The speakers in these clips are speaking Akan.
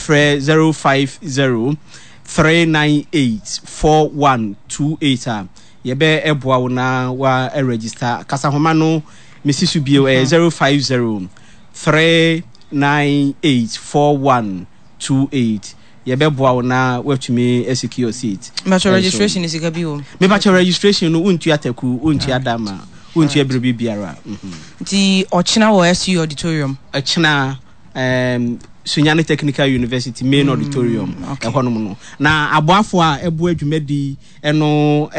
Wofrɛ 050 398 4128 a, yɛbɛ ɛboa wo na wa register. Kasahoma no mesi so bio, ɛyɛ 050 398 4128. Yɛbɛboa wo na woatumi asecure seat. Mepakyɛ registration no sika bi wɔ mu? Mepakyɛ registration no wontua taku, wontua dama, wontua biribi biara. Nti ɔkyena wɔ SU auditorium? Ɔkyena um, Sunyani Technical University main auditorium ɛhɔnom no. Na aboafo a ɛboa dwumadi ɛno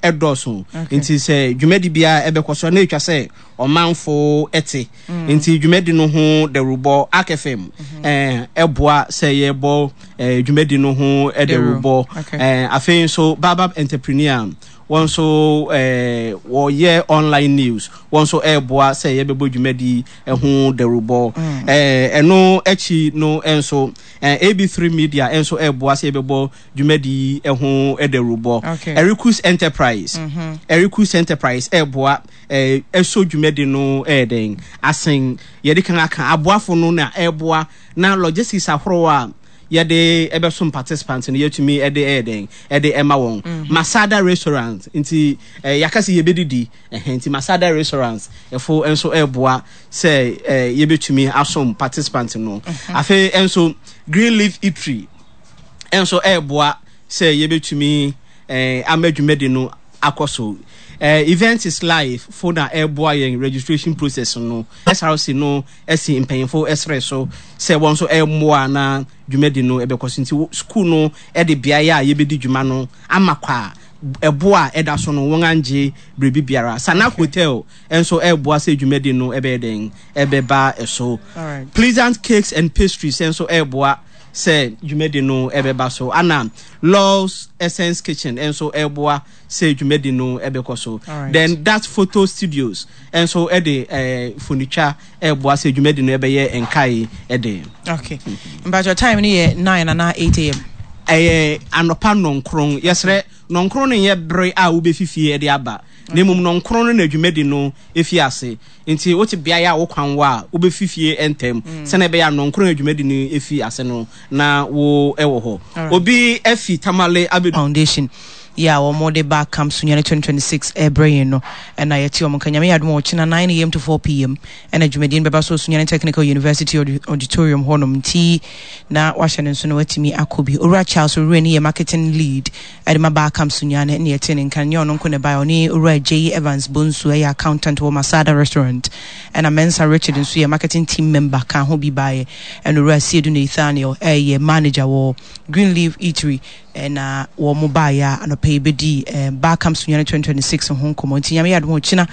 ɛdɔɔso. Nti sɛ dwumadi biara ɛbɛkɔ so na etwa sɛ ɔmanfo ɛte. Nti dwumadi no ho dawurubɔ Ark FM ɛboa sɛ yɛbɔ dwumadi no ho dawurubɔ. Afei nso Baobab Entrepreneur wɔn nso wɔyɛ online news wɔn nso ɛreboa sɛ yɛbɛbɔ dwumadi ho dawurubɔ. Ɛno akyi no nso AB3 Media nso ɛreboa sɛ yɛbɛbɔ dwumadi yi ho dawurubɔ. Erikus Enterprise, Erikus Enterprise ɛreboa ɛsɔ dwumadi no ɛyɛ dɛn asen yɛde kan aka aboafo no na ɛreboa na logistics ahorow a yɛde ɛbɛsom participants no yɛtumi ɛde ɛyɛ dɛn ɛde ɛma wɔn. Masada Restaurant nti yɛaka sɛ yɛbɛdidi ɛhɛn nti Masada Restaurant ɛfo nso ɛreboa sɛ yɛbɛtumi asom participants no. Afei nso Green Leaf Eatery nso ɛreboa sɛ yɛbɛtumi ama dwumadi no akɔ so. Event is Life fo na ɛreboa yɛn registration process no. SRC no asi mpanyimfo srɛ so sɛ wɔn nso mmoa na dwumadi no bɛkɔ so. Nti sukuu no de beae a yɛbɛdi dwuma no ama kwa a ɛbo a ɛda so no wɔn angye biribi biara. Sanak Hotel nso ɛreboa sɛ dwumadi no ɛbɛyɛ dɛn ɛbɛba so. Pleasant Cakes and Pastries nso ɛreboa sɛ dwumadi no ɛbɛba so. Ana Law's Essence Kitchen nso ɛreboa sɛ dwumadi no ɛbɛkɔ so. Then That Photo Studios nso ɛde mfonitwa ɛreboa sɛ dwumadi no ɛbɛyɛ nkae ɛde. Okay. Mpakyɛ time no yɛ 9 anaa 8 a.m.? Ɛyɛ anɔpa 9. Yɛsrɛ, 9 no nyɛ bere a wobɛfi fie ɛde aba, na mmom 9 no na dwumadi no ɛfi ase. Nti wote beaeɛ a wo kwan wɔ a, wobɛfi fie ntɛm sɛnea ɛbɛyɛ a 9 a dwumadi no ɛfi ase no na wo ɛwɔ hɔ. Obi afi Tamale abɛdu. Foundation yi a wɔn de ba Camp Sunyani 2026 ɛrebrɛ yɛn no ɛna yɛte wɔn nka. Nyame yɛ adom a ɔkyena 9 a.m. to 4 p.m. ɛna dwumadie no bɛba so Sunyani Technical University Auditorium hɔnom, nti na wahyɛ no nso na watumi akɔ bi. Owura Charles Owurani yɛ marketing lead ɛde ma ba Camp Sunyani ɛna yɛte ne nka. Nyɛ ɔno nko na ɛbaeɛ, ɔne Owura J Evans Bonsu, ɛyɛ accountant wɔ Masada Restaurant, ɛna Mensa Richard nso yɛ marketing team member ka ho bi baeɛ, ɛna Owura Siedu Nathaniel ɛyɛ manager wɔ Green Leaf Eatery ɛna wɔn baeɛ a anɔpɛ yi bɛdi Bar Camp Sunyani 2026 ho nkɔmmɔ. Nti Nyame yɛ adom a ɔkyena